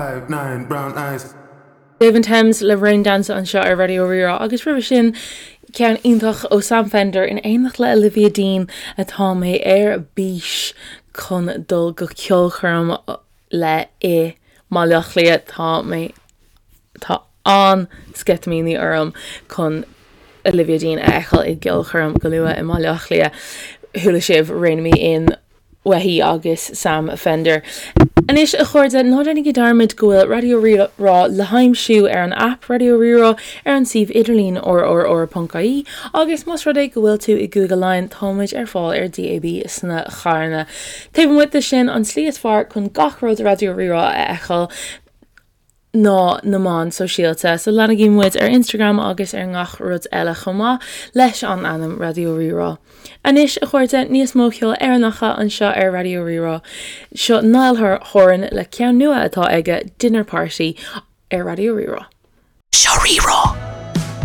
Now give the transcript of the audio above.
9, brown eyes. Dave & Thames le Rain Dance anseo ar Raidió Rí-Rá agus roimhe sin ceann iontach ó Sam Fender in éineacht le Olivia Dean atá mé ar bís chun dul go ceolchoirm le i mBaile Átha Cliath. Tá mé tá an-sceitimíní orm chun Olivia Dean a fheiceáil i gceolchoirm go luath i mBaile Átha Cliath. Chuala sibh Rein Me In uaithi agus Sam Fender. Anois, a chairde, ná déanaigí dearmad go bhfuil Raidió Rí-Rá le haimsiú ar an aip Raidió Rí-Rá, ar an suíomh idirlín rrr.ie agus más rud é go bhfuil tú i gCúige Laighean, tá muid ar fáil ar DAB sna carranna. Taobh amuigh de sin, an tslí is fearr chun gach rud Raidió Rí-Rá a fheiceáil, ná na meáin sóisialta. So leanaigí muid ar Instagram agus ar ngach rud eile chomh maith leis an ainm Raidió Rí-Rá. Anois, a chairde, níos mó ceol Éireannacha anseo ar Raidió Rí-Rá. Seo Niall Horan le ceann nua atá aige, Dinner Party, ar Raidió Rí-Rá. Seo Rí-Rá.